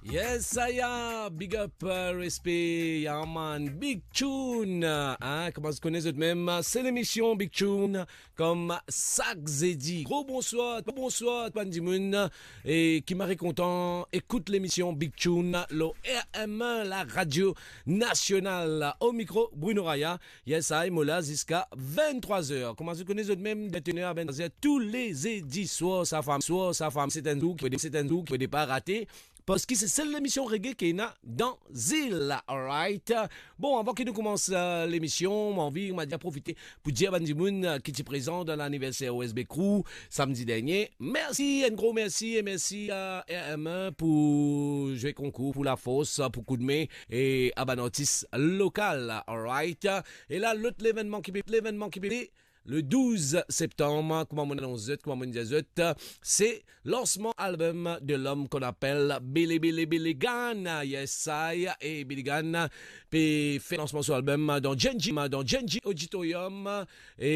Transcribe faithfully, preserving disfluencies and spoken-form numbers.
Yes, saya, big up, euh, respe, yeah man, Big Tune, hein, kouma zot kone zot mem, se lemision Big Tune, kom sak zedi. Gro bonswar, bonswar bann dimoun, e ki mari kontan ekout lemision Big Tune lor R M un, la radio nasional. O mikro, Bruno Raya, yes, I, mo la ziska venntrwa zer. Kouma zot kone zot mem, de venntrwa zer a venntrwa zer tou le zedi swar, sa fam, swar, sa fam, se enn zour ki, se enn zour ki pe pa rate. Parski se sel lemision reggae ki ena dan zil, alright? Bon, avan ki nou koumans, euh, lemision, mo anvi, mo dir, profite pou dir bann dimoun, euh, ki ti prezan dan laniverser O S B Crew samdi dernie. Mersi, enn gro mersi, e mersi a R M un pou zwe konkour, pou lafors, pou koudme, e a bann artis lokal, alright? E la, lot levennman ki pe, levennman ki pe, le douz septam, kouma mo anons zot, kouma mo dir zot, se lansman album de l'homme qu'on appelle Billy, Billy, Billy Gunn. Yes, I, e Billy Gunn pe fer lansman so album dan J N J, dan J N J Auditorium, e